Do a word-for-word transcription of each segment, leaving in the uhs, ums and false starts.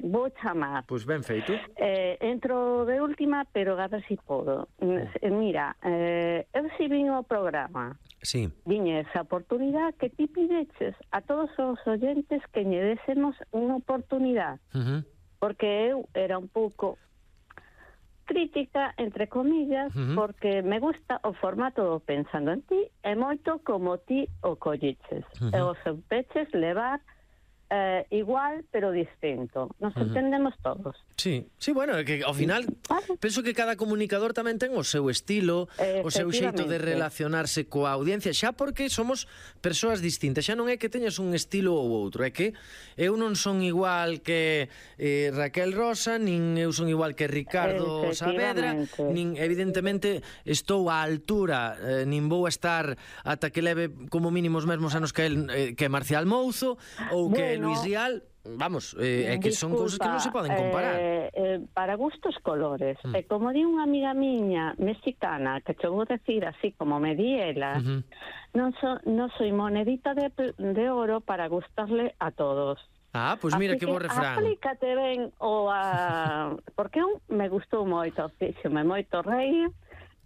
vou chamar. Pois ben feito. Eh, entro de última, pero a ver si podo. Eh, mira, eh, eu si vin o programa. Sí. Viña esa oportunidade que ti pideches a todos os oyentes que lle désemos unha oportunidade. Uh-huh. Porque eu era un pouco crítica, entre comillas, uh-huh. porque me gusta o formato do Pensando en Ti e moito como ti o colliches. Uh-huh. E os peches levar eh, igual, pero distinto. Nos uh-huh. entendemos todos. Sí, sí, bueno, que ao final vale. Penso que cada comunicador tamén ten o seu estilo, o seu xeito de relacionarse coa audiencia, xa porque somos persoas distintas, xa non é que teñas un estilo ou outro, é que eu non son igual que eh, Raquel Rosa, nin eu son igual que Ricardo Saavedra, nin evidentemente estou á altura, eh, nin vou a estar ata que leve como mínimo os mesmos anos que el, eh, que Marcial Mouzo ou que bueno, Luis Rial. Vamos, eh, é que disculpa, son cousas que non se poden comparar. Eh, eh, para gustos colores. Mm. E como di unha amiga miña mexicana, que che vou decir así como me di ela, uh-huh. non, so, non soy monedita de, de oro para gustarle a todos. Ah, pois pues mira que, que bo refrán. Aplícate ben o a... Porque un me gustou moito, fíxome moito reír.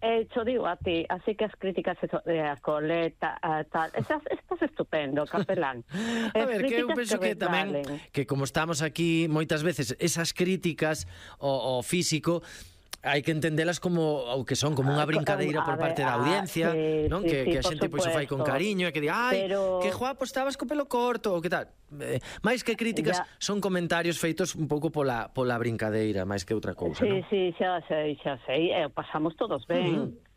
Eh, cho digo a ti, así que as críticas de a coleta, a tal, esas, estás estupendo, capelán. A ver, que eu penso que, que tamén, que como estamos aquí moitas veces, esas críticas ao, ao físico, hai que entendelas como o que son, como unha brincadeira por parte da audiencia, sí, non? Sí, que, sí, que a xente pois o fai con cariño e que di, ai, pero... que guapo estabas co pelo corto, ou que tal. Eh, máis que críticas, ya. Son comentarios feitos un pouco pola, pola brincadeira, máis que outra cousa, sí, non? Sí, sí, xa sei, xa sei, eh, pasamos todos ben. Uh-huh.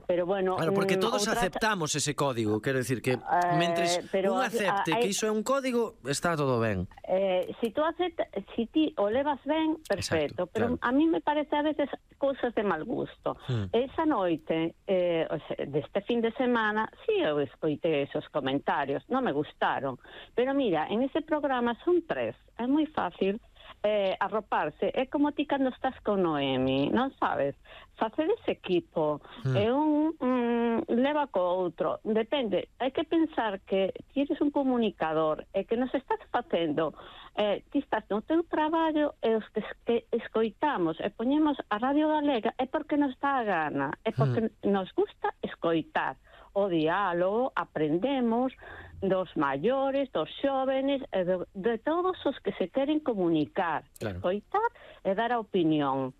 Pero bueno, claro, porque todos outra... aceptamos ese código, quero decir que mentres eh, un acepte hay... que iso é un código, está todo ben. Eh, si tú aceptas, si ti o levas ben, perfecto. Exacto, pero claro. A mí me parece a veces cousas de mal gusto. Hmm. Esa noite, eh, o sea, deste fin de semana, sí eu escoitei esos comentarios, non me gustaron. Pero mira, en ese programa son tres, é moi fácil eh, arroparse. É como ti cando estás con Noemi, non sabes? Facer ese equipo mm. é un mm, leva co outro, depende, hai que pensar que ti eres un comunicador e que nos estás facendo, eh, ti estás no teu traballo e os que, que escoitamos e poñemos a Radio Galega é porque nos dá a gana, é porque mm. nos gusta escoitar o diálogo, aprendemos dos maiores, dos xóvenes, e de, de todos os que se queren comunicar, claro. Escoitar e dar a opinión.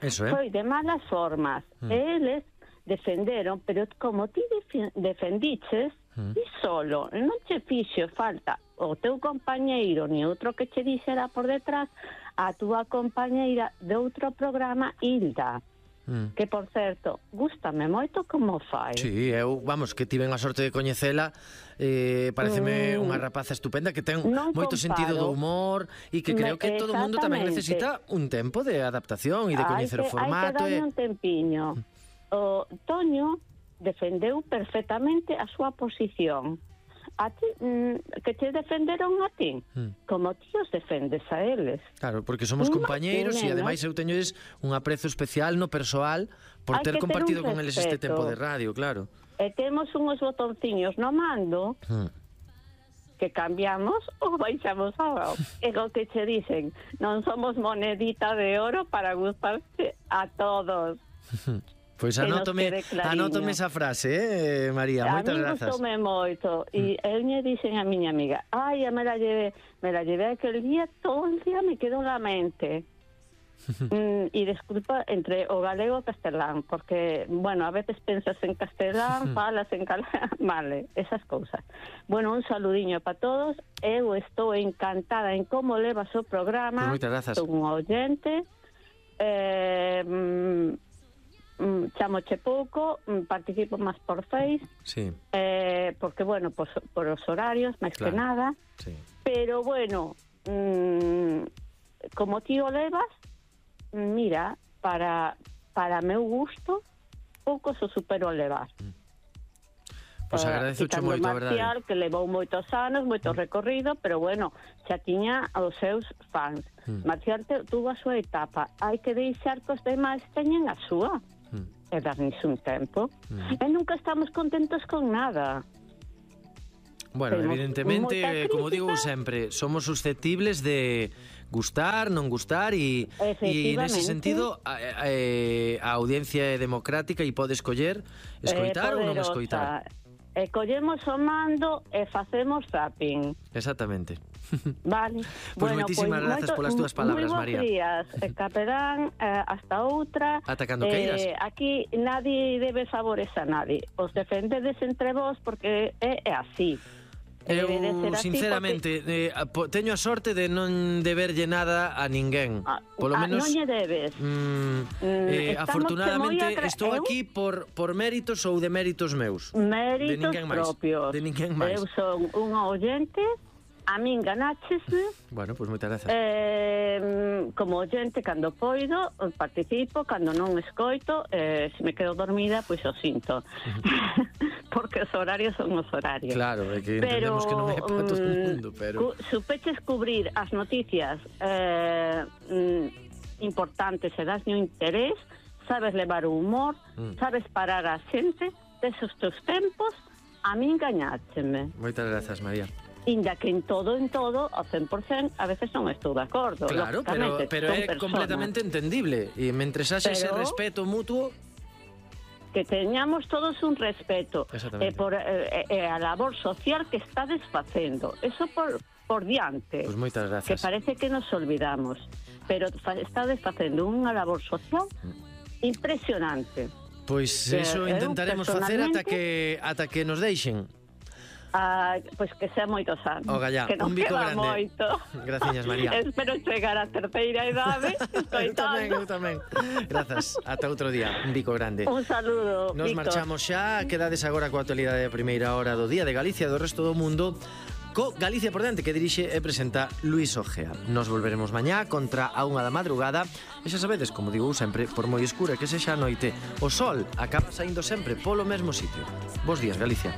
Eso, eh? Foi de malas formas. Mm. Eles defenderon, pero como ti defendiches, mm. ti solo, non che fixo falta o teu compañeiro ni outro que che dixera por detrás a túa compañeira de outro programa, Hilda. Mm. Que, por certo, gústame moito como fai. Sí, eu, vamos, que tiven a sorte de coñecela, eh, pareceme mm. unha rapaza estupenda que ten non moito comparo. Sentido do humor e que creo que todo o mundo tamén necesita un tempo de adaptación e de coñecer o formato. Hai que darle un tempiño. O Toño defendeu perfectamente a súa posición. A ti, mm, que te defenderon a ti, mm. como ti os defendes a eles. Claro, porque somos compañeiros e ademais eu teño un aprezo especial no persoal por ter compartido con eles este tempo de radio, claro. E temos uns botonciños no mando mm. que cambiamos ou baixamos a e o que che dicen, non somos monedita de oro para gustarse a todos. Pois anótome, anótome esa frase, eh, María, moitas grazas. A mí gustoume moito, e mm. eu lle dixen a miña amiga, ai, me la llevé, me la llevé aquel día, todo el día me quedou na mente. mm, e desculpa, entre o galego e o castelán, porque, bueno, a veces pensas en castelán, falas en catalán, vale, esas cousas. Bueno, un saludiño para todos, eu estou encantada en como levas o programa, pues moitas grazas. Son un oyente, eh... Mm, Mm, chamoche pouco, mm, participo máis por Face, sí. eh, porque, bueno, por, por os horarios, máis claro. Que nada, sí. Pero, bueno, mm, como ti o levas, mira, para para meu gusto, pouco se supero levar. Mm. Pois pues agradezo uh, moito, a verdade. Marcial, que levou moitos anos, moito mm. recorrido, pero, bueno, xa tiña os seus fans. Mm. Marcial te, tuvo a súa etapa, hai que deixar que os demais teñen a súa. Mm. E darnos un tempo. Mm. E nunca estamos contentos con nada. Bueno, Tenemos evidentemente, como digo sempre, somos susceptibles de gustar, non gustar, e nese sentido a, a, a audiencia é democrática e pode escoller escoitar ou non escoitar. E collemos o mando e facemos zapping. Exactamente. Vale. Pois bueno, moitísimas pues, grazas polas túas palabras, María. Moi bons días, Caperán, eh, hasta outra. Ata cando queiras. Eh, aquí nadie debe favores a nadie. Os defendedes entre vos porque é, é así. Eu, sinceramente, porque... eh, teño a sorte de non deberlle nada a ninguén. Polo menos... Non lle debes. Mm, eh, afortunadamente, agra... estou eu... aquí por, por méritos ou de méritos meus. Méritos de propios. De ninguén máis. Eu son unha oyente... A min ganáchesme. Bueno, pois pues moitas grazas. Eh, como oyente, cando poido, participo, cando non escoito, eh, se me quedo dormida, pois pues o sinto. Porque os horarios son os horarios. Claro, é que entendemos pero, que non é para todo o mundo, pero... Cu supeches cubrir as noticias eh, mm, importantes e das no interés, sabes levar o humor, mm. sabes parar a xente, desos teus tempos, a min gañácheme. Moitas grazas, María. Inda que en todo, en todo, ao cen por cen, a veces non estou de acordo. Claro, pero, pero é personas. completamente entendible. E mentre haxe ese respeto mutuo... Que teñamos todos un respeto. E por eh, eh, a labor social que está desfacendo. Eso por, por diante. Pois moitas Que grazas. parece que nos olvidamos. Pero está desfacendo unha labor social impresionante. Pois eso eh, intentaremos facer ata que, ata que nos deixen. Ah, pois pues que sea moitos anos. O gallá, que non un bico queda grande. Moito. Graciñas, María. Espero chegar á terceira idade. Eu tamén, eu tamén. Grazas. Ata outro día. Un bico grande. Un saludo. Nos Bico. marchamos xa. Quedades agora coa actualidade da primeira hora do Día de Galicia do resto do mundo. Co Galicia por diante, que dirixe e presenta Luis Ojea. Nos volveremos mañá contra a unha da madrugada. E xa sabedes, como digo sempre, por moi escura que sexa a noite, o sol acaba saindo sempre polo mesmo sitio. Bos días, Galicia.